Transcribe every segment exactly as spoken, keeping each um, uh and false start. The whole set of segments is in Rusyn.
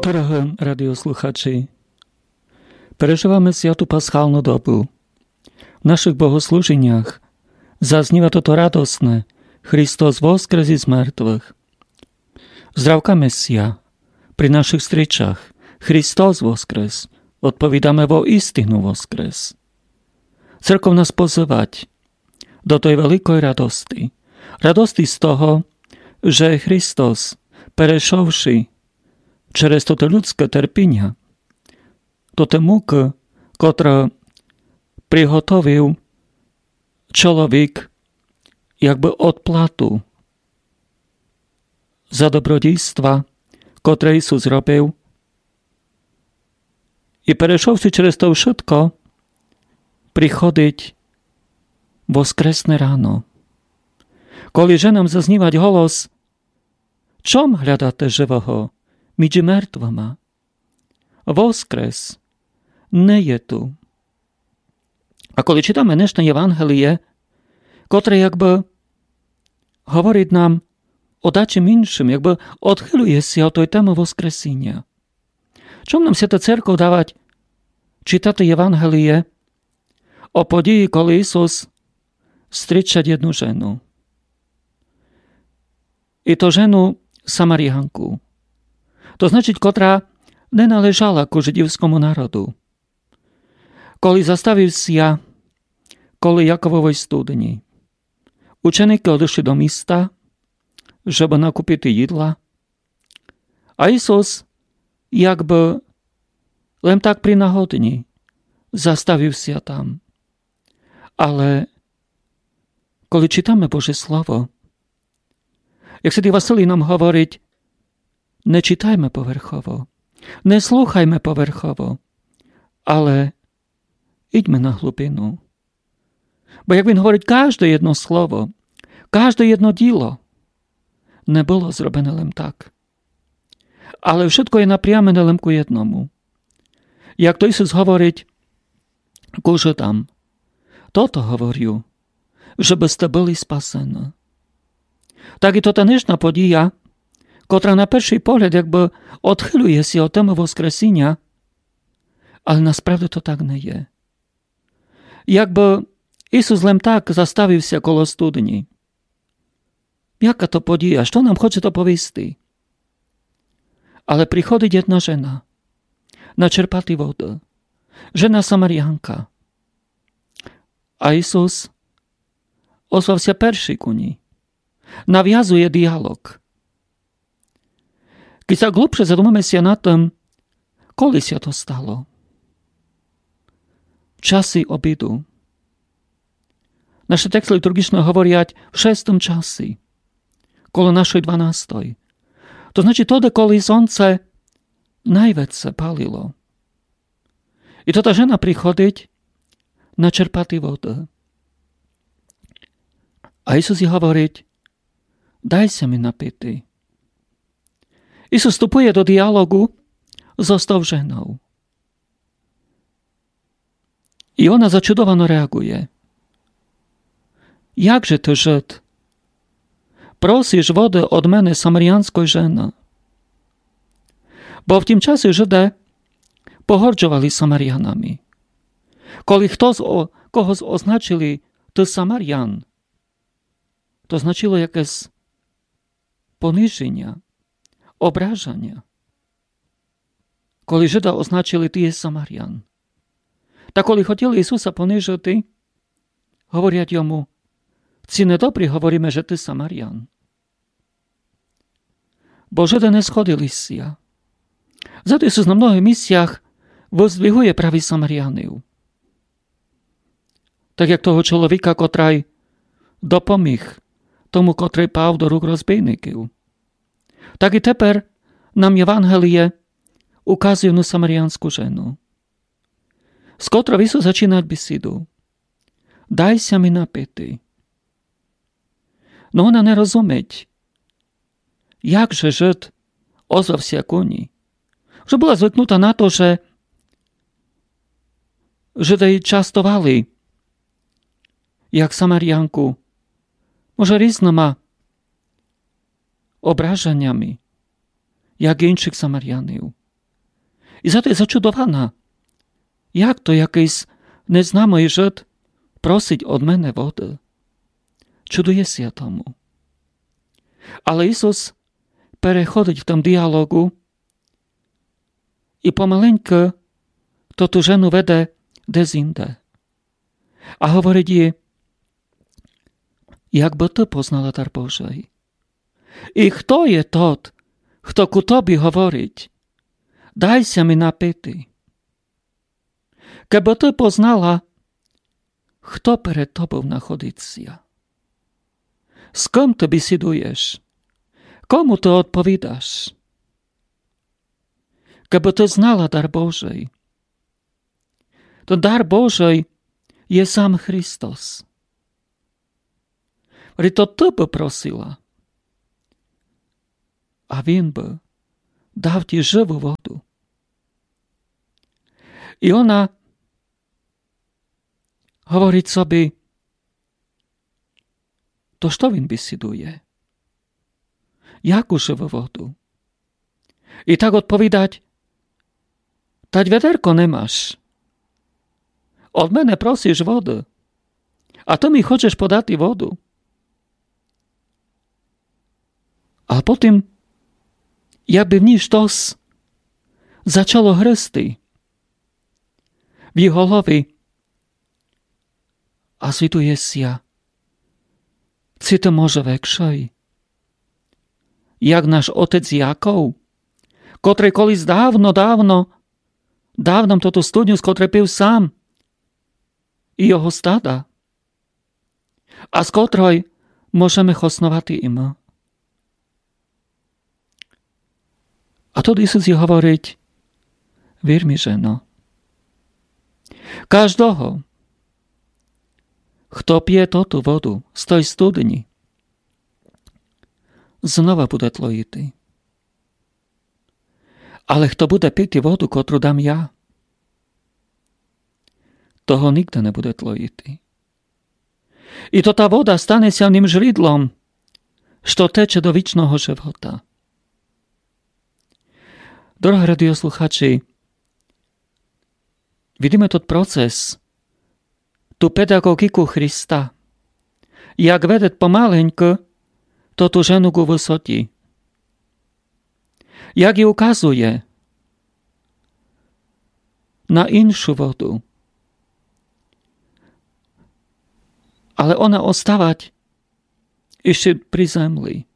Дорогы радіослухачі, переживаме святу пасхалну добу. В нашых богослужінях зазніва тото радосне: Христос воскрес из мертвых. Здрявкаме ся при нашых стрічах: Христос воскрес, одповідаме: воістину воскрес. Церков нас позывать до той великой радости. Радости з того, же Христос, перейшовши через тото людске терпіня, тоты мукы, котры приготовив чоловік якбы одплату за добродійства, котры Ісус робив, і перейшовши через то вшытко, приходить воскресне рано. Коли же нам зазнівать голос: «Чом глядате живого між мертвыма? Воскрес, не є ту». А коли читаме днешне Євангеліє, котре якбы говорить нам о дачим іншым, якбы одхылює ся од той темы воскресіня. Чом нам Свята Церков давать читати Євангеліє о події, коли Ісус стрічать єдну жену? І то жену Самарянку. То значить, котра не належала ку жидівскому народу. Коли заставив ся коло Якововой студні, ученикы одышли до міста, жебы накупити їдла. А Ісус якбы лем так при нагодні заставив ся там. Але коли читаме Боже Слово, як святый Василій нам говорить: не читайме поверхово, не слухайме поверхово, але ідьме на глубину. Бо, як він говорить, кажде єдно слово, кажде єдно діло не было зроблене лем так. Але вшытко є напрямене лем ку єдному. Як то Ісус говорить ку жидам: «Тото говорю, жебы сте были спасены». Так і то та днешна подія, котра на першый погляд якбы одхылює ся од темы воскресіня, але насправді то так не є. Якбы Ісус лем так заставив ся коло студні. Яка то подія? Што нам хоче то повісти? Але приходить єдна жена начерпати воды. Жена Самарянка. А Ісус озвав ся першый ку ній. Навязує діалог. Кідь ся глубше задумаме ся над тым, коли ся то стало? В часі обіду. Нашы тексты літурґічны говорять в шестым часі, коло нашой дванастой. То значить, тоды, коли сонце найвеце палило. І то та жена приходить начерпати воды. А Ісус їй говорить: «Дай ся мі напити». Ісус вступує до діалогу зо тов женов. І она зачудовано реагує: «Як же ты, жид, просиш воды од мене, самарянской жены?» Бо в тім часі жиды погорджовали Самарянами. Коли хтоси о-, когоси означили: «Ты самарян», то значило якесь понижіня, ображаня. Коли жида означили: «Ты єси самарян». Та коли хотіли Ісуса понижити, говорять йому: «Ци не добрі говориме, же ты самарян?» Бо жиды не сходили ся. Зато Ісус на многых місцях воздвигує праве Самарянів. Так як того чоловіка, котрый допоміг тому, котрый пав до рук розбійників. Так і тепер нам Євангеліє указує на самарянску жену, з котров Ісус зачинать бесіду: «Дай ся мі напити». Но она не розумить, як же жид озвав ся ку ній. Вже была звикнута на то, же жиды її частовали як самарянку, може, різныма ображанями, як іншых самарянів. І зато є зачудована. Як то якыйсь незнамый Жид просить од мене воды? Чудує ся тому. Але Ісус переходить в тым діалогу і помаленьку тоту жену веде десь інде. А говорить їй: Як бы ты познала дар Божый? І хто є тот, хто ку тобі говорить: Дай ся ми напити? Кебы ты познала, хто перед тобов находить ся, з кым ты бесідуєш, кому ты одповідаш. Кебы ты знала дар Божый, то дар Божый є сам Христос. Говорить, то ты бы просила, а Він бы дав ті живу воду. І она говорить собі: То што він бесідує? Яку живу воду? І так одповідать: Тадь ведерко не маш. Од мене просиш воды, а ты ми хочеш подати воду. А потім, якбы в ній штось зачало гризти в її голові, а звідує ся: Ци ты може векшый, як наш отець Яков, котрый колись давно, давно дав нам тоту студню, з котрой пив сам і його стада, а з котрой можеме хосновати і мы. А тут Ісус їй говорить: Вір ми, жено, каждого, хто пє тоту воду з той студні, знова буде тлоїти. Але хто буде пити воду, котру дам я, того нигде не буде тлоїти. І то та вода стане ся ним жридлом, што тече до вічного живота. Дорогы радіослухачі, видиме тот процес, ту педаґоґіку Христа, як веде помаленьку тоту жену ґу высоті, як їй указує на іншу воду. Але она оставать іщы при землі.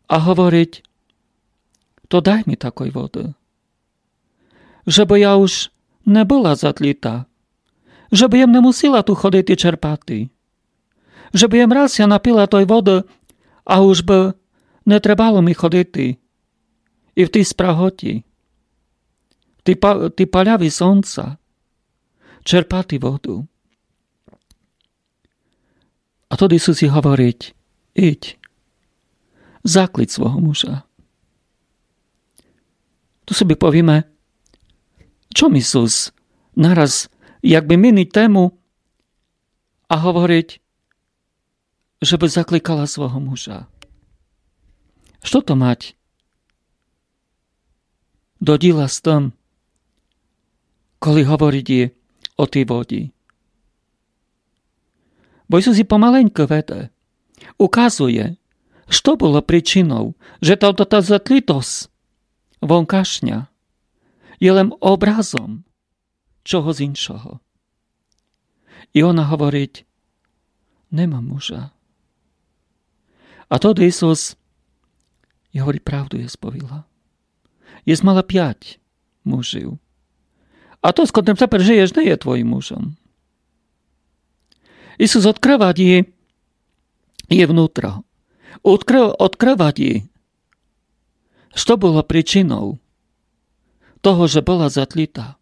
А говорить: То дай ми такой воды, жебы я уж не была затліта, жебы єм не мусила ту ходити черпати, жебы єм раз ся напила той воды, а уж бы не требало ми ходити і в тій спраготі, в тій па-, тій паляві сонця черпати воду. А тот Ісус їй говорить: Ідь, заклич свого мужа. Ту собі повіме, чом Ісус нараз якбы мінить тему а говорить, жебы закликала свого мужа. Што то мать до діла з тым, коли говорить їй о тій воді? Бо Ісус її помаленьку веде, указує, што было причинов, же та, та, та затлітость вонкашня є лем образом чогось іншого. І она говорить: Не мам мужа. А тот Ісус їй говорить: Правду єс повіла. Єс мала пять мужів. А тот, з котрым тепер жиєш, не є твоїм мужом. Ісус одкрывать їй, їй внутро. Одкры-, одкрывать їй, што было причинов того, же была затліта.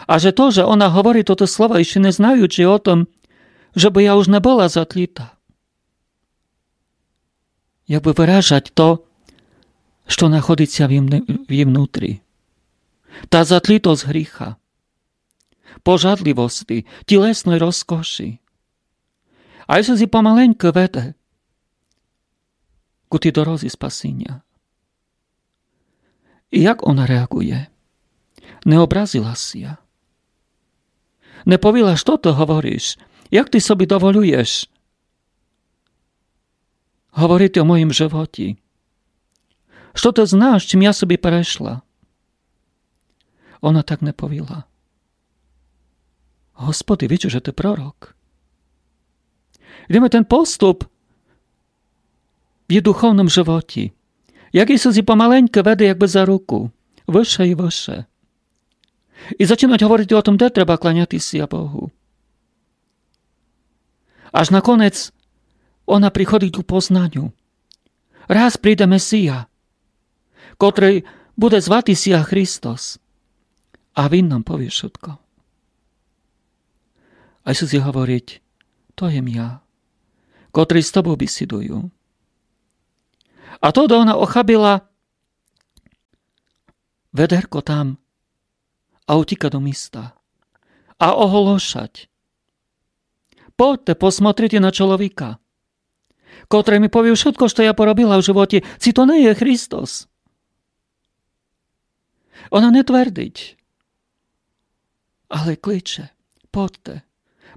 А же то, же она говорить тото слова, іщы не знаючи о тым, жебы я уж не была затліта, якбы выражать то, што находить ся в її вн-, в її внутрі. Та затлітость гріха, пожадливости, тілесной розкоши. А Ісус її помаленьку веде ку тій дорозі спасіня. І як она реагує? Не образила ся. Не повіла: «Што ты говориш? Як ты собі доволюєш говорити о моїм животі? Што ты знаєш, чим я собі перешла?» Она так не повіла. Господи, виджу, же ты пророк. Йдеме тот поступ в її духовнім животі. Як Ісус її помаленьку веде якбы за руку. Выше і выше. І зачинать говорити о тім, де треба кланяти ся Богу. Аж наконець она приходить к познаню. Раз прийде Месія, котрый буде звати ся Христос. А він нам повіє вшытко. А Ісус їй говорить: «То єм я, котрый з тобов бесідую». А тогды она охабила ведерко там а утіка до міста. А оголошать: «Подте посмотрити на чоловіка, котрый ми повів вшытко, што я поробила в животі. Ци то не є Христос?» Она не твердить, але кличе: «Подте,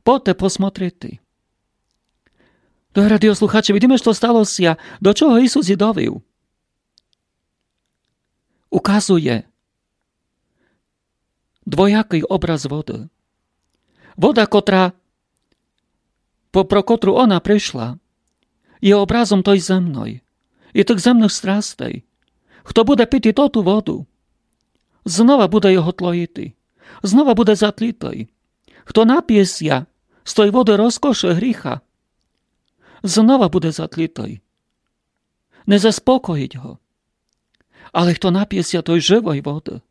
подте посмотрити». Дорогы радіослухачі, видиме, што стало ся, до чого Ісус її довів. Указує двоякый образ воды. Вода, котра, по, про котру она пришла, є образом той земной і тых земных страстей. Хто буде пити тоту воду, знова буде його тлоїти, знова буде затлітый. Хто напє ся з той воды розкоши гріха, знова буде затлітый. Не заспокоїть го. Але хто напє ся той живой воды,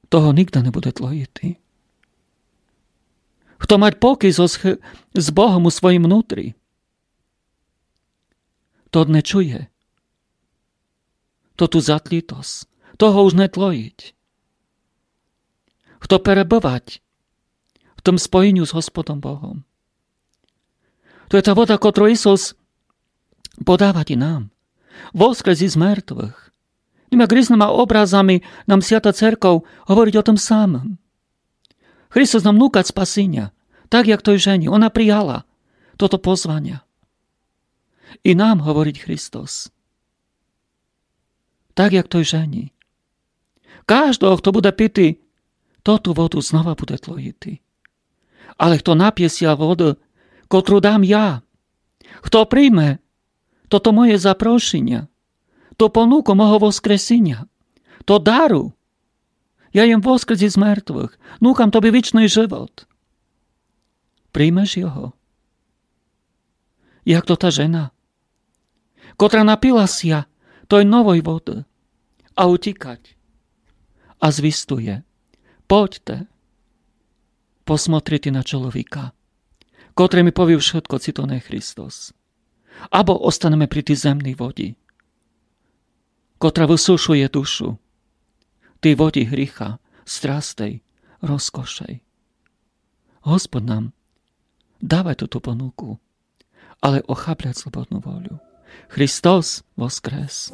того нигде не буде тлоїти. Хто мать покій зо сх-, з Богом у своїм внутрі, тот не чує тоту затлітость, того уж не тлоїть. Хто перебывать в тім споєню з Господом Богом. То є та вода, котру Ісус подавать і нам. Воскрес із мертвых. Тыма різныма образами нам Свята Церков говорить о тім самым. Христос нам нукать спасіня, так як той жені. Она прияла тото позваня. І нам говорить Христос, так як той жені: «Каждого, хто буде пити тоту воду, знова буде тлоїти. Але хто напє ся воды, котру дам я, хто прийме тото моє запрошіня, ту понуку мого воскресіня, то дару, я єм воскрес із мертвых, нукам тобі вічный живот. Приймеш його, як то та жена, котра напила ся той новой воды, а утікать, а звістує: Подте посмотрити на чоловіка, котрый ми повів вшытко, ци то не Христос. Або останеме при тій земній воді, котра высушує душу, тій воді гріха, страстей, розкошей. Господь нам давай тоту понуку, але охаблять слободну волю. Христос воскрес!